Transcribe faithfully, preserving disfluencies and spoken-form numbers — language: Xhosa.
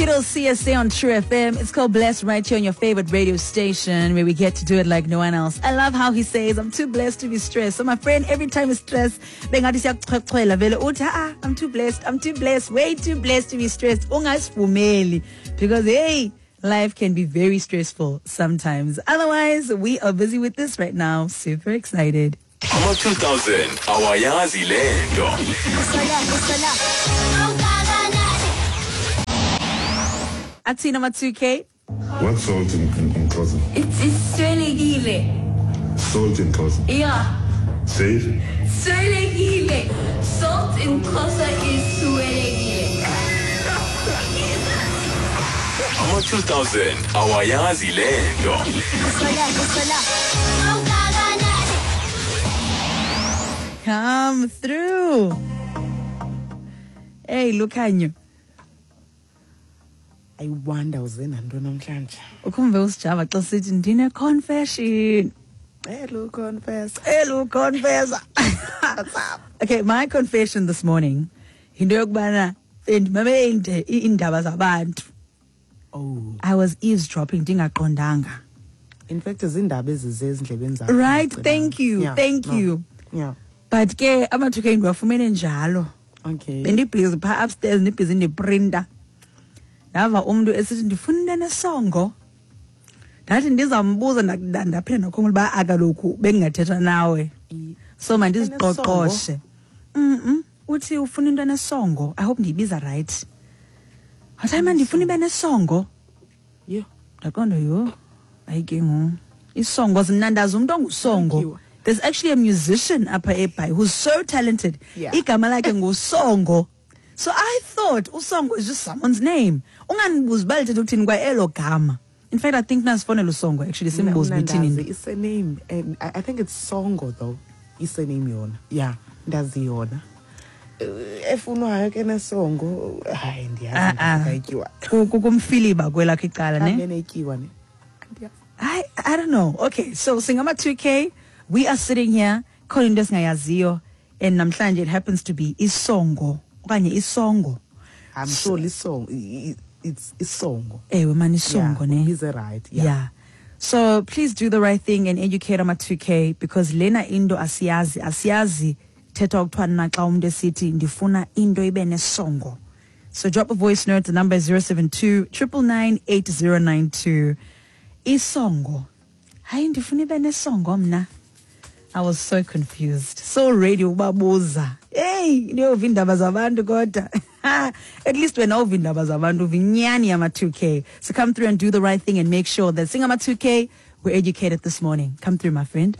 Skittles C S A on True F M. It's called Blessed right here on your favorite radio station where we get to do it like no one else. I love how he says, I'm too blessed to be stressed. So my friend, every time he's stressed, I'm too blessed, I'm too blessed, way too blessed to be stressed. Because hey, life can be very stressful sometimes. Otherwise, we are busy with this right now. Super excited. Ama two thousand awayazi lento. Athi number two K. What's salt in, in, in Xhosa? It's iswelekile. Salt in Xhosa. Yeah. Say it. Swelekile. Salt in Xhosa is swelekile. Ama two thousand awayazi lento. Come through. Hey, Lukhanyo. I wonder uze nantoni namhlanje. Ukhumbe usijava xa sithi ndine confession. Hello confess. Hello confess. What's up? Okay, my confession this morning. Into yokubana ndimamele iindaba zabantu. Oh. I was eavesdropping ndingaqondanga. In fact izindaba ezize ezindlebeni zakho. Right, thank you. Yeah, thank no. you. Yeah. But ke amathuba ndiwafumene njalo. Okay. Bendibhizi pha upstairs ndibhizi ndiprinta. Ndava umntu esithi ndifuna into enesongo. Ndathi ndizambuza ndaphinda ndakhumbula uba akaloku bengingathetha nawe. So mandiziqoqoshe. Mhm. Uthi ufuna into enesongo. I hope ndiyibiza right. Wathi man ndifuna ibe nesongo. Yho. Ndaqonda yho. Hayi ke ngoku. Isongo zinandaza umuntu ongusongo. There's actually a musician apha eBhayi who's so talented. Yeah. Igama lakhe nguSongo. So I thought Usongo is just someone's name. Unganibuzi uba lithetha ukuthini kwa elo gama. In fact, I think nasifonela uSongo actually simbuze uthini. It's a name and I think it's Songo though. It's a name yona. Yeah, ndazi yona. Efunwayo ke nesongo hayi ndiyazi ndayityiwa. Kumfiliba kwelakhe icala ne. Amenetyiwa ne. I I don't know. Okay, so singama two K, we are sitting here khona into esingayaziyo and namhlanje it happens to be isongo. Okanye isongo. I'm sure isongo it's isongo. Ewe man isongo yeah, ne. He's right. Yeah. Yeah. So please do the right thing and educate ama two K because lena into asiyazi asiyazi thetha ukuthiwa na xa umuntu esithi ndifuna into ibe nesongo. So drop a voice note, the number is zero seven two, triple nine, eight zero nine two. Isongo. Hayi ndifuna ibe nesongo mna. I was so confused. So ready ubabuza. Hey, ndiyova iindaba zabantu kodwa. At least wena uva iindaba zabantu uva inyani yama two K. So come through and do the right thing and make sure that singama two K we're educated this morning. Come through, my friend.